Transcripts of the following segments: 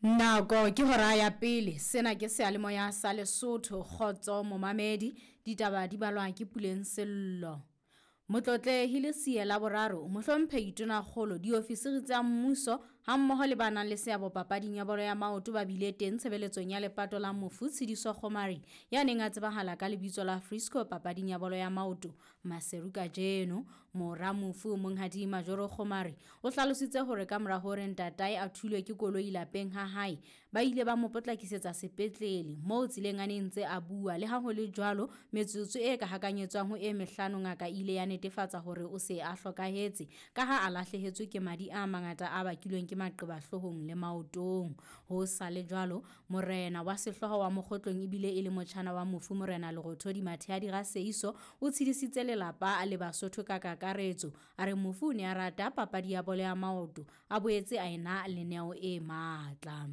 Nako ke hora ya pele, sena ke seyalemoya sa Lesotho, kgotso momamedi, ditaba di balwa ke Puleng Sello. Motlotlehi Lesie la boraro, mohlomphehi Tonakgolo, diofisiri tsa mmuso hammoho le ba nang le seabo papading ya bolo ya maoto ba bile teng tshebeletsong ya lepato la mofu Tshidiso Kgomari ya neng a tsebahala ka lebitso la Frisco papading ya bolo ya maoto Maseru kajeno. Mora mofu Monghadi Majoro Kgomari o hlalositse hore ka mora hore ntatae a thulwe ke koloi lapeng ha hae, ba ile ba mo potlakisetsa sepetlele moo tseleng a neng ntse a bua. Le ha ho le jwalo, metsotso e ka hakanyetswang ho e mehlano ngaka e ile ya netefatsa hore o se a hlokahetse ka ha a lahlehetswe ke madi a mangata a bakilweng ke maqeba hloohong le maotong. Ho sa le jwalo, morena wa sehlooho wa Mokgotlong ebile e le motjhana wa mofu Morena Lerothodi Matheyadi Raseiso o tshedisitse lelapa le Basotho ka kakaretso. A re mofu o ne a rata papadi ya bolo ya maoto, a boetse a ena le neo e matla.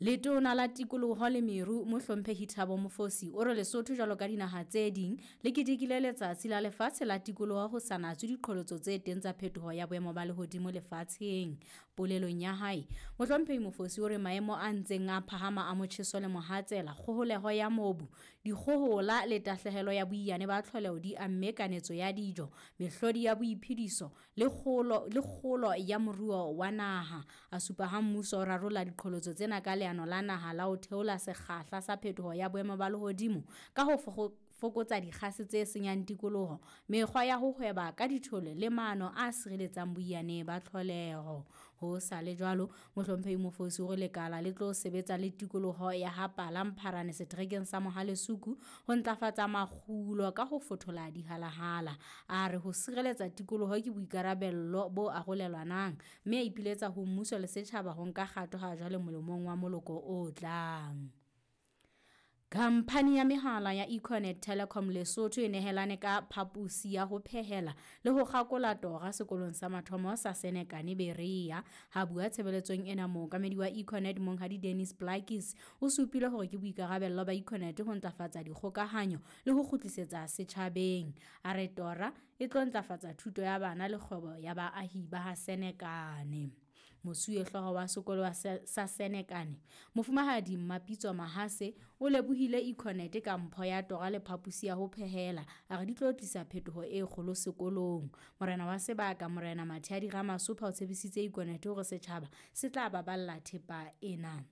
Letona la Tikoloho le Meru Mohlomphehi Thabo Mofosi o re Lesotho jwalo ka dinaha tse ding le ketekile letsatsi la lefatshe la tikoloho ho sa natswe diqholotso tse teng tsa phetoho ya boemo ba lehodimo lefatsheng. Polelong ya hae, Mohlomphehi Mofosi o re maemo a ntseng a phahama a motjheso le mohatsela, kgoholeho ya mobu, dikgohola le tahlehelo ya boiyane ba tlholeho di amme kanetso ya dijo, mehlodi ya boiphediso le kgolo ya moruo wa naha. A supa ha mmuso o rarolla diqholotso tsena ka leano la naha la ho theola sekgahla sa phetoho ya boemo ba lehodimo ka ho fokotsa dikgase tse senyang tikoloho, mekgwa ya ho hweba ka dithole le maano a sireletsang boiyane ba tlholeho. Ho sa le jwalo, Mohlomphehi Mofosi o re lekala le tlo sebetsa le tikoloho ya ha Pala Mpharane seterekeng sa Mohalesuku ho ntlafatsa makgulo ka ho fothola dihalahala. A re ho sireletsa tikoloho ke boikarabello bo arolelwanang, mme a ipiletsa ho mmuso le setjhaba ho nka kgato ha jwale molemong wa moloko o tlang. Khamphani ya mehala ya Econet Telecom Lesotho e nehelane ka phaposi ya ho phehela le ho kgakola tora sekolong sa mathomo sa Senekane Berea. Ha bua tshebeletsong ena, mookamedi wa Econet Monghadi Dennis Plakis o supile hore ke boikarabello ba Econet ho ntlafatsa dikgokahanyo le ho kgutlisetsa setjhabeng. A re tora e tlo ntlafatsa thuto ya bana le kgwebo ya baahi ba ha Senekane. Mosuwehlooho wa sekolo sa Senekane, Mofumahadi Mmapitso Mahase o lebohile Econet ka mpho ya tora le phaposi ya ho phehela. A re di tlo tlisa phetoho e kgolo sekolong. Morena wa sebaka, Morena Matheyadi Ramasopha o tshepisitse Econet hore setjhaba se tla baballa thepa ena.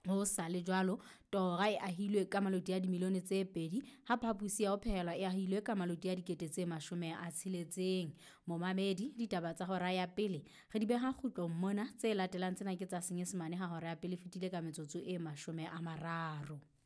Ho sa le jwalo, tora e ahilwe ka maloti a dimilione tse 2, ha phaposi ya ho phehela e ahilwe ka maloti a 60,000. Momamedi, ditaba tsa hora ya pele re di beha kgutlong mona. Tse latelang tsena ke tsa Senyesemane ha hora ya pele fetile ka metsotso e 30.